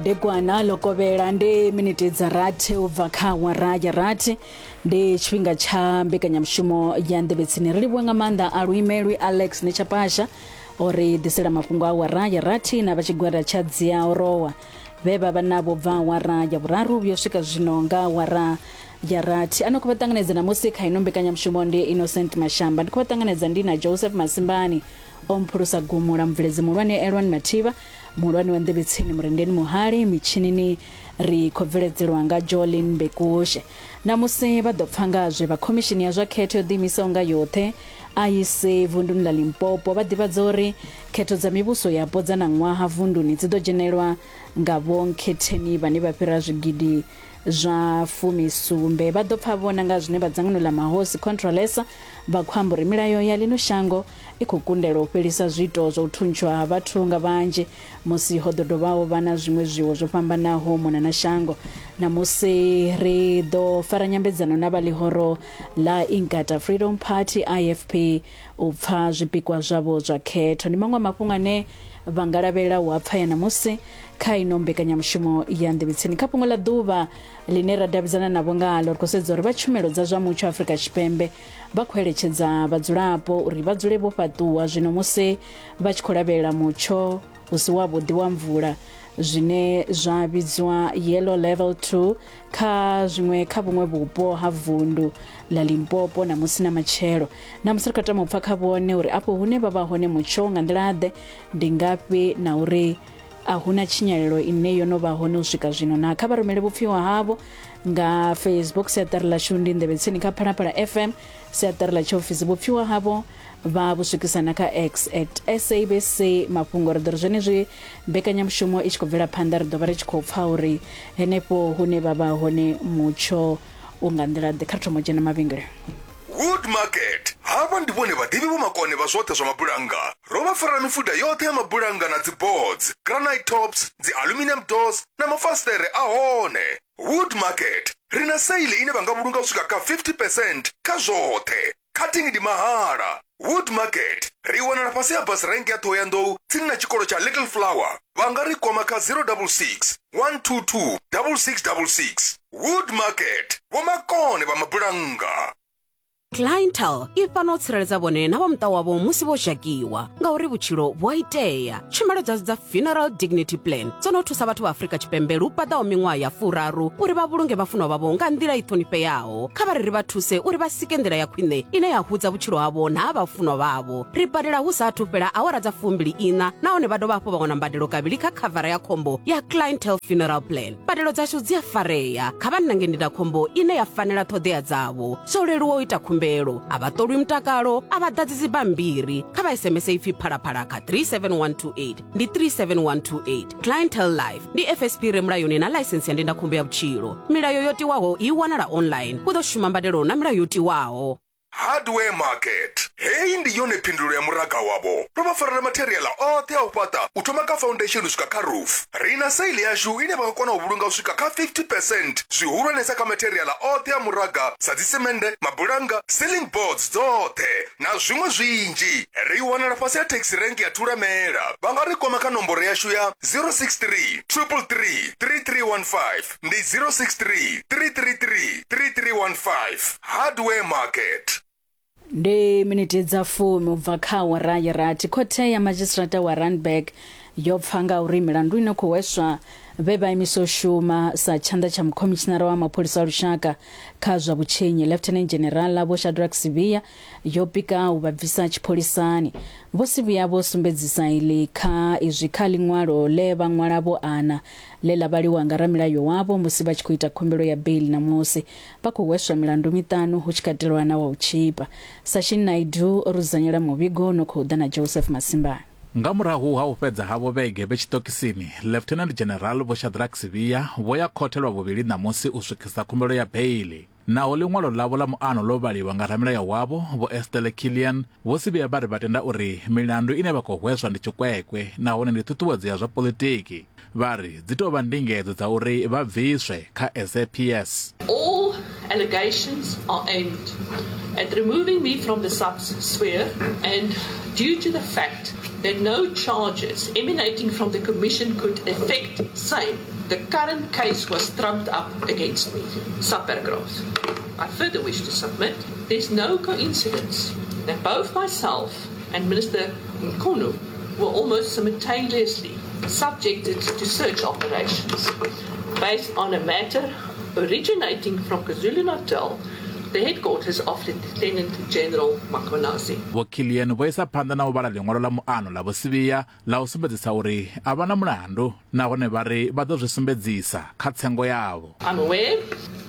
Degwana ḽo kovhela ndi miniti dza rathi u bva kha awara ya rathi ndi tshifhinga tsha mbekanyamushumo ya nḓevhetsini ri livhuwe nga maanḓa a luimelwi Alex Nechapasha o ri ḓisela mafhungo a awara ya rathi na vha tshigwada tsha dzia orowa vhe vha vha navho bva awara ya vhuraru vhuyo swika zwino nga awara ya rathi ano khou vha ṱanganedza namusi kha ino mbekanyamushumo ndi Innocent Mashamba ndi khou vha ṱanganedza ndi na Joseph Masimbani o mphulusa gumula mubveledzi muhulwane Elwan Mathivha Muhulwane wa nḓevhetsini Murendeni Muhali mitshinini ri khou bveledzelwa nga Jolin Mbekushe. Ṋamusi vha ḓo pfa nga zwe vha khomishini ya zwa khetho yo ḓiimisaho nga yoṱhe IEC vunduni ḽa Limpopo vha ḓivhadza uri khetho dza mivhuso yapo dza ṋaṅwaha vunduni dzi ḓo dzhenelwa nga vhonkhetheni vhane vha fhira zwigidi zwa fumisumbe. Vha ḓo pfa vhona nga zwine vha dzangano ḽa mahosi Contralesa vha khou amba uri milayo ya ḽino shango i khou kundelwa u fhelisa zwiito zwa u thuntshwa ha vhathu nga vhanzhi musi ho ḓo dovha ho vha na zwiṅwe zwiwo zwo fhambanaho u mona na shango. Ṋamusi ri ḓo fara nyambedzano na vha ḽihoro ḽa Inkatha Freedom Party, IFP, u pfa zwipikwa zwavho zwa khetho. Ndi maṅwe a mafhungo ane vha nga lavhelela u a pfa ya ṋamusi kha ino mbekanyamushumo ya Nḓevhetsini. Kha fhungo ḽa ḓuvha ḽine ra davhidzana navho ngaḽo, ri khou sedza uri vha tshumelo dza zwa mutsho Afrika Tshipembe vha khou eletshedza vhadzulapo uri vha dzule vho fhaṱuwa zwino musi vha tshi khou lavhelela mutsho u si wavhuḓi wa mvula zwine zwa vhidzwa yellow level 2 kha zwiṅwe kha vhuṅwe vhupo ha vundu ḽa Limpopo na musi na matshelo na musi ri khou tama u pfa kha vhone uri afho hune vha vha hone mutsho nga nḓila-ḓe ndi ngafhi na uri a huna tshinyalelo ine yo no vha hone u swika zwino na kha vha rumele vhupfiwa havho nga Facebook siaṱari ḽashu ndi nḓevhe tsini kha Phalaphala FM siaṱari ḽa tshiofisi vhupfiwa havho vha vhu swikisana kha X at SABC mafhungo ri ḓo ri zwenezwi mbekanyamushumo i tshi khou bvela phanḓa ri ḓo vha ri tshi khou pfa uri henefho hune vha vha hone mutsho u nga nḓila ḓe kha ri thoma u dzhena mavhengele. Wood Market. Havha ndi vhone vhaḓivhi vhomakone vha zwoṱhe zwa mabulannga. Ro vha farela mifuda yoṱhe ya mabulannga na dzi boards, granite tops, dzi aluminium doors na mafasiṱere a hone. Wood Market. Ri na sale ine vha nga vhulunga u swika kha 50 percent kha zwoṱhe. Cutting ndi mahala. Wood Market. Ri wanala fhasi ha bus rank ya Thohoyandou tsini na tshikolo tsha Little Flower. Vha nga ri kwama kha 066 122 6666. Wood Market. Vhomakone vha mabulannga. Clientele i fhano u tsireledza vhone na vha muṱa wavho musi vho zhakiwa ngauri vhutshilo vhu a itea. Tshumelo dzashu dza Funeral Dignity Plan dzo no thusa vhathu vha Afrika Tshipembe lu paḓaho miṅwaha ya furaru uri vha vhulunge vhafunwa vhavho nga nḓila i ṱhonifheaho. Kha vha ri ri vha thuse uri vha sike nḓila ya khwine ine ya hudza vhutshilo havho na ha vhafunwa vhavho. Ri badela hu sa athu fhela awara dza fumbili iṋa nahone vha dovha hafhu vha wana mbadelo kavhili kha khavara ya khombo ya Clientele Funeral Plan. Mbadelo dzashu dzi a farea. Kha vha nange ndindakhombo ine ya fanela ṱhoḓea dzavho. Zwo leluwa u ita khumbelo. A vha ṱolwi mutakalo, a vha ḓadzi dzibammbiri. Kha vha SMS ipfi Phalaphala kha 37128. Ndi 37128. Clientele Life ndi FSP re mulayoni na ḽaisensi ya ndindakhombo ya vhutshilo. Milayo yo tiwaho i wanala online. Hu ḓo shuma mbadelo na milayo yo tiwaho. Hardware Market. Heyi ndi yone phindulo ya muraga wavho. Ro vha farela matheriaḽa oṱhe a u fhaṱa u thoma kha foundation u swika kha roof. Ri na sale yashu ine vha nga kona u vhulunga u swika kha 50 percent, zwihulwanesa kha matheriaḽa oṱhe a muraga sa dzisemende, mabulannga, ceiling boards dzoṱhe na zwiṅwe zwinzhi. Ri wanala fhasi ha taxi rank ya Thulamela. Vha nga ri kwama kha nomboro yashu ya 063 333 3315. Ndi 063 333 3315. Hardware Market. Ndi miniti dza fumi u bva kha awara ya rathi. Khothe ya madzhisiṱiraṱa wa Randburg yo pfa nga uri milandu ino khou hweswa vhe vha imisa u shuma sa tshanḓa tsha mukhomishinara wa mapholisa a lushaka kha zwa vhutshinyi Lieutenant General Vho Shadrack Sibiya yo pika u vha bvisa tshipholisani. Vho Sibiya vho sumbedzisa iḽi kha izwi kha ḽiṅwalo ḽe vha ṅwala vho ana ḽe ḽa vhaliwa nga ramilayo wavho musi vha tshi khou ita khumbelo ya beiḽi ṋamusi. Vha khou hweswa milandu miṱanu hu tshi katelwa na wa u tzhipa. Sashin Naidoo o rudzanyela muvhigo u no khou ḓa na Joseph Masimbane. Nga murahu ha u fhedza havho vhege vhe tshiṱokisini, Lieutenant General Vho Shadrack Sibiya vho ya khothe lwa vhuvhili ṋamusi u swikisa khumbelo ya beiḽi. Naho ḽiṅwalo ḽavho ḽa muano ḽo vhaliwa nga ramilayo wavho, Vho Estelle Killian, Vho Sibiya vha ri vha tenda uri milandu ine vha khou hweswa ndi tshikwekwe nahone ndi ṱhuṱhuwedzo ya zwa poḽitiki. Vha ri dzi tou vha ndingedzo dza uri vha bviswe kha SAPS. All allegations are aimed at removing me from the SAPS sphere and due to the fact that no charges emanating from the commission could affect same. The current case was trumped up against me. Subparagraph. I further wish to submit there's no coincidence that both myself and Minister Mkhunu were almost simultaneously subjected to search operations based on a matter originating from KwaZulu-Natal, the headquarters of Lieutenant General Mkhwanazi. Vho Killian vho isa phanḓa na u vhala ḽiṅwalo ḽa muano ḽa Vho Sibiya ḽa u sumbedzisa uri a vha na mulandu nahone vha ri vha ḓo zwi sumbedzisa kha tsengo yavho. I'm aware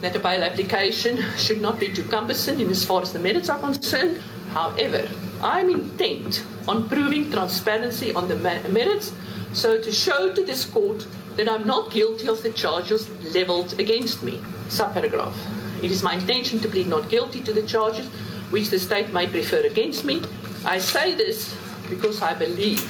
that a bail application should not be too cumbersome in as far as the merits are concerned. However, I am intent on proving transparency on the merits so to show to this court that I'm not guilty of the charges leveled against me. Subparagraph. It is my intention to plead not guilty to the charges which the state may prefer against me. I say this because I believe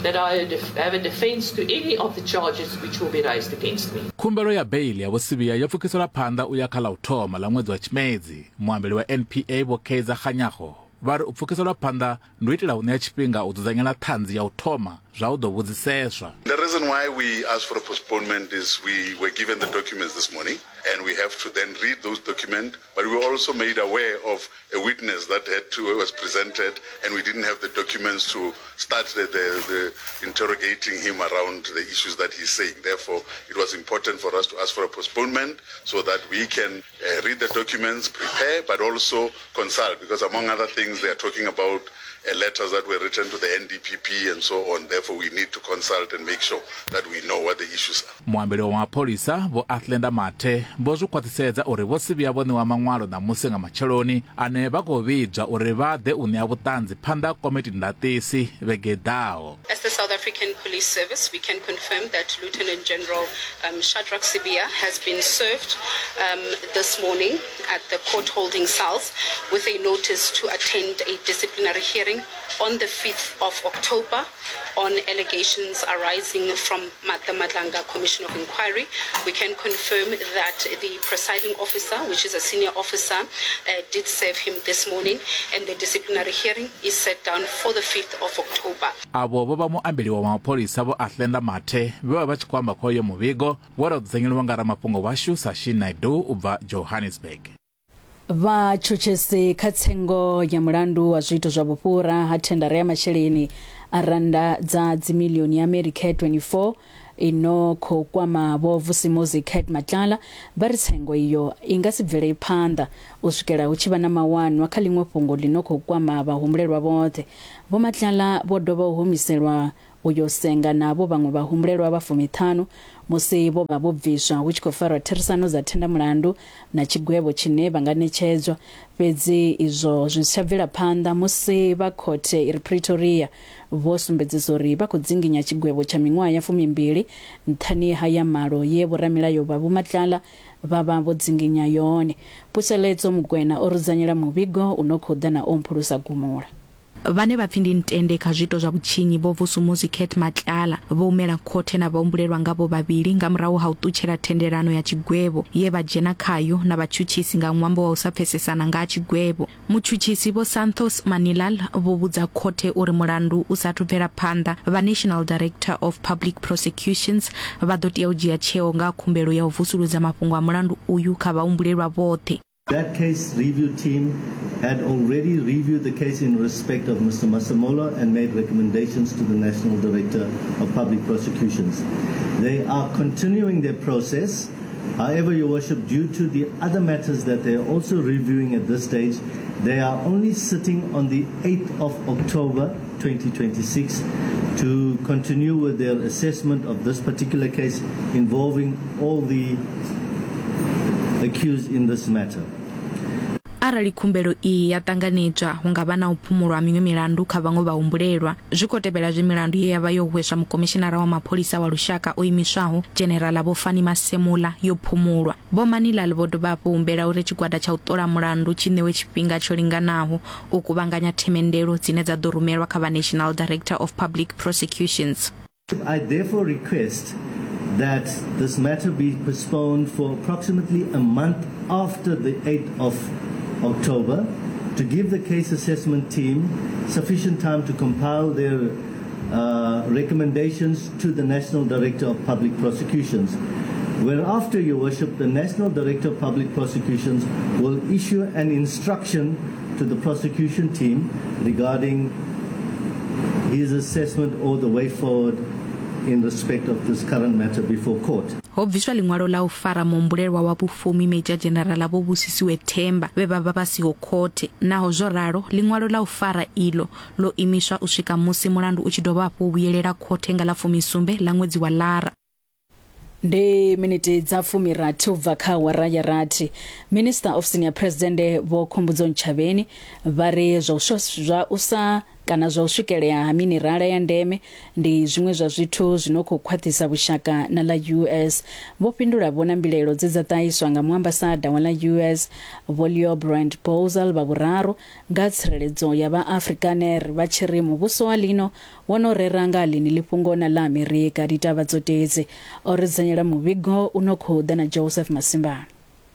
that I have a defense to any of the charges which will be raised against me. Khumbelo ya beiḽi ya Vho Sibiya yo pfukiselwa phanḓa u ya kha ḽa u thoma ḽa ṅwedzi wa Tshimedzi. Muambeli wa NPA Vho Kaizer Kganyago vha ri u pfukiselwa phanḓa ndi u itela u ṋea tshifhinga u dzudzanyela ṱhanzi ya u thoma zwa u ḓo vhudziseswa. The reason why we asked for a postponement is we were given the documents this morning and we have to then read those documents, but we were also made aware of a witness that had to, was presented and we didn't have the documents to start the, the, the interrogating him around the issues that he's saying. Therefore, it was important for us to ask for a postponement so that we can uh, read the documents, prepare, but also consult, because among other things, they are talking about uh, letters that were written to the NDPP and so on. Therefore, we need to consult and make sure that we know what the issues are. Muambeli wa mapholisa Vho Athlenda Mathe vho zwi khwaṱhisedza uri Vho Sibiya vho ṋewa maṅwalo ṋamusi nga matsheloni ane vha khou vhidzwa uri vha ḓe u ṋea vhuṱanzi phanḓa ha komiti ndaṱisi vhege i ḓaho. As the South African Police Service, we can confirm that Lieutenant General um, Shadrack Sibiya has been served um, this morning at the court holding cells with a notice to attend a disciplinary hearing on the 5th of October on allegations arising from the Madlanga Commission of Inquiry. We can confirm that the presiding officer, which is a senior officer, uh, did serve him this morning, and the disciplinary hearing is set down for the 5th of October. Avho vho vha muambeli wa mapholisa Vho Athlenda Mathe vhe vha vha tshi khou amba kha uyo muvhigo we ra dzudzanyeliwa nga ramafhungo washu Sashin Naidoo u bva Johannesburg. Vhatshutshisi kha tsengo ya mulandu wa zwiito zwa vhufhura ha thendara ya masheleni a rannda dza dzimilioni ya America 24 ino khou kwama Vho Vusimuzi Cat Matlala vha ri tsengo iyo i nga si bvele phanḓa u swikela hu tshi vha na mawanwa kha ḽiṅwe fhungo ḽi no khou kwama vhahumbulelwa vhoṱhe. Vho Matlala vho dovha u humiselwa u yo senga navho vhaṅwe vhahumbulelwa vha fumiṱhanu musi vho vha vho bviswa hu tshi khou farwa therisano dza thendamulandu na tshigwevho tshine vha nga ṋetshedzwa. Fhedzi izwo zwi si tsha bvela phanḓa musi vha khothe i re Pretoria vho sumbedzisa uri vha khou dzinginya tshigwevho tsha miṅwaha ya fumimbili nṱhani ha ya malo ye vhoramilayo vha Vho Matlala vha vha vho dzinginya yone. Puseletso Mugwena o rudzanyela muvhigo u no khou ḓa na Omphulusa Gumula. Vhane vha pfi ndi ntende kha zwiito zwa vhutshinyi Vho Vusumuzi Cat Matlala vho humela khothe na vhahumbulelwa ngavho vhavhili nga murahu ha u ṱutshela thendelano ya tshigwevho ye vha dzhena khayo na vhatshutshisi nga ṅwambo wa u sa pfesesana nga ha tshigwevho. Mutshutshisi Vho Santhos Manilal vho vhudza khothe uri mulandu u sa athu bvela phanḓa, vha National Director of Public Prosecutions vha ḓo tea u dzhia tsheo nga ha khumbelo ya u vusuludza mafhungo a mulandu uyu kha vhahumbulelwa vhoṱhe. That case review team had already reviewed the case in respect of Mr. Masemola and made recommendations to the National Director of Public Prosecutions. They are continuing their process. However, Your Worship, due to the other matters that they are also reviewing at this stage, they are only sitting on the 8th of October 2026 to continue with their assessment of this particular case involving all the accused in this matter. Arali khumbelo iyi ya ṱanganedzwa, hu nga vha na u phumulwa ha miṅwe milandu kha vhaṅwe vhahumbulelwa. Zwi khou tevhela zwe milandu ye ya vha yo hweswa Mukomishinara wa Mapholisa wa Lushaka o imiswaho, Dzhenerala Vho Fannie Masemola, yo phumulwa. Vho Manilal vho dovha hafhu humbela uri tshigwada tsha u ṱola mulandu tshi ṋewe tshifhinga tsho linganaho u kuvhanganya themendelo dzine dza ḓo rumelwa kha vha National Director of Public Prosecutions. I therefore request that this matter be postponed for approximately a month after the 8th of October to give the case assessment team sufficient time to compile their recommendations to the National Director of Public Prosecutions. Whereafter, Your Worship, the National Director of Public Prosecutions will issue an instruction to the prosecution team regarding his assessment or the way forward in respect of this current matter before court. Ho bviswa ḽiṅwalo ḽa u fara muhumbulelwa wa vhufumi Major General Vho Busisiwe Themba vhe vha vha vha siho khothe. Naho zwo ralo, ḽiṅwalo ḽa u fara iḽo ḽo imiswa u swika musi mulandu u tshi dovha hafhu u vhuyelela khothe nga ḽa fumisumbe ḽa ṅwedzi wa Lara. Ndi miniti dza fumirathi u bva kha awara ya rathi. Minisiṱa ofisini ya Phresidennde Vho Khumbudzo Ntshavheni vha ri zwa u zwa u sa kana zwa u swikelea ha minirala ya ndeme ndi zwiṅwe zwa zwithu zwi no khou khwaṱhisa vhushaka na ḽa US. Vho fhindula vho na mbilaelo dze dza ṱahiswa nga muambasada wa ḽa US Vho Leo Brand Bousel vha vhuraru nga tsireledzo ya vha Afrikaner vha tshi ri muvhuso wa ḽino wo no rera nga ha ḽeneḽi fhungo na ḽa Amerika. Ditavha dzo tedzi. O ri dzudzanyela muvhigo u no khou ḓa na Joseph Masimbana.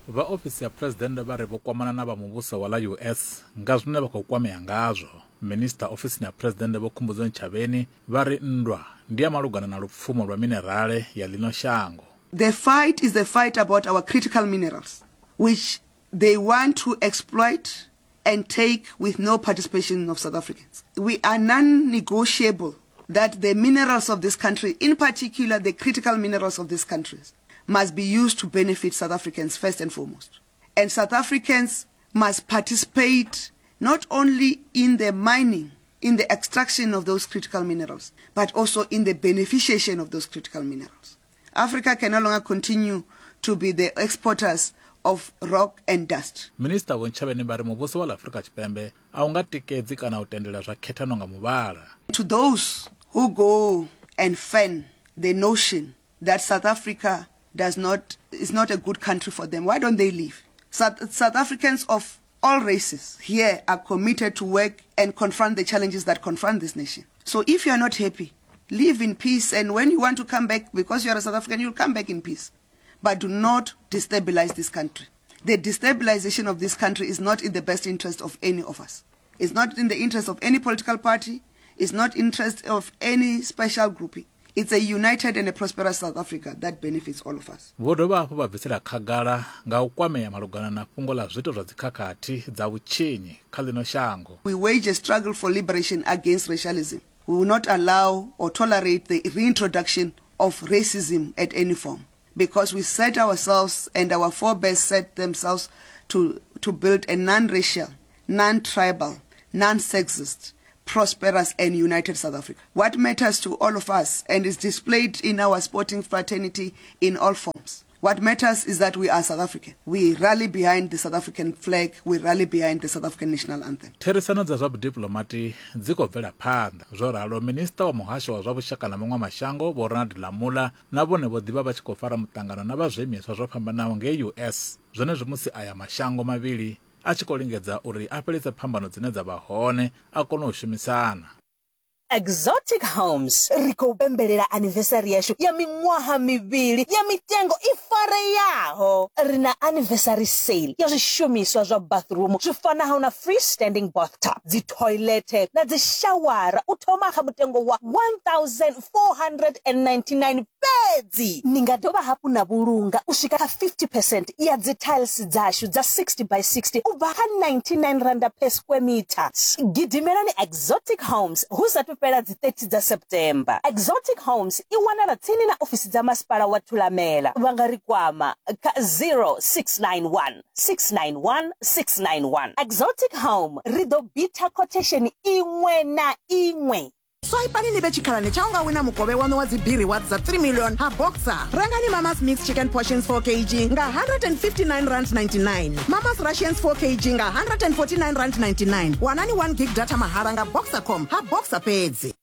Vha ofisi ya Phresidennde vha ri vho kwamana na vha muvhuso wa ḽa US nga zwine vha khou kwamea ngazwo. Minisiṱa ofisini ya Phresidennde Vho Khumbudzo Ntshavheni vha ri nndwa ndi ya malugana na lupfumo lwa minerale ya ḽino shango. The fight is a fight about our critical minerals, which they want to exploit and take with no participation of South Africans. We are non-negotiable that the minerals of this country, in particular the critical minerals of this country, must be used to benefit South Africans first and foremost. And South Africans must participate not only in the mining, in the extraction of those critical minerals, but also in the beneficiation of those critical minerals. Africa can no longer continue to be the exporters of rock and dust. Minisiṱa Vho Ntshavheni vha ri muvhuso wa ḽa Afrika Tshipembe a u nga tikedzi kana u tendela zwa khethano nga muvhala. To those who go and fan the notion that South Africa does not, is not a good country for them, why don't they leave? South, South Africans of all races here are committed to work and confront the challenges that confront this nation. So if you are not happy, live in peace and when you want to come back because you are a South African, you'll come back in peace. But do not destabilize this country. The destabilization of this country is not in the best interest of any of us. It's not in the interest of any political party. It's not interest of any special grouping. It's a united and a prosperous South Africa that benefits all of us. Vho dovha hafhu vha bvisela khagala nga u kwamea malugana na fhungo ḽa zwiito zwa dzikhakhathi dza vhutshinyi kha ḽino shango. We wage a struggle for liberation against racialism. We will not allow or tolerate the reintroduction of racism at any form because we set ourselves and our forebears set themselves to, to build a non-racial, non-tribal, non-sexist, prosperous and united South Africa. What matters to all of us and is displayed in our sporting fraternity in all forms. What matters is that we are South African. We rally behind the South African flag, we rally behind the South African national anthem. Therisano dza zwa vhudiplomati dzi khou bvela phanḓa. Zwo ralo, Minisiṱa wa Muhasho wa zwa Vhushaka na Maṅwe Mashango Vho Ronald Lamola na vhone vho ḓi vha vha tshi khou fara muṱangano na vha zwiimiswa zwo fhambanaho ngei US zwenezwi musi aya mashango mavhili a tshi khou lingedza uri a fhelise phambano dzine dza vha hone a kone u shumisana. Exotic Homes ri khou pembelela anniversary yashu ya miṅwaha mivhili ya mitengo i fareaho. Ri na anniversary sale ya zwishumiswa zwa bathroom zwi fanaho na freestanding bathtub, dzi toilet na dzi shawara u thoma kha mutengo wa 1499 fhedzi. Ni nga dovha hafhu na vhulunga u swika kha 50 percent ya dzi tiles dzashu dza 60 by 60 u bva kha R99 per square meter. Gidimelani Exotic Homes hu sathu fhela dzi 30 dza September. Exotic Homes i wanala tsini na ofisi dza masipala wa Thulamela. Vha nga ri kwama kha 0691 691 691. Exotic Home, ri ḓo bitha quotation iṅwe na iṅwe. Swaipani ni vhe tshikhalani tsha u nga wina mukovhe waṋu wa dzi B-rewards dza 3 million ha Boxer. Rengani Mama's Mixed Chicken Portions 4 kg nga R159.99, Mama's Russians 4 kg nga R149.99. Wanani 1 gig data mahala nga Boxercom ha Boxer fhedzi.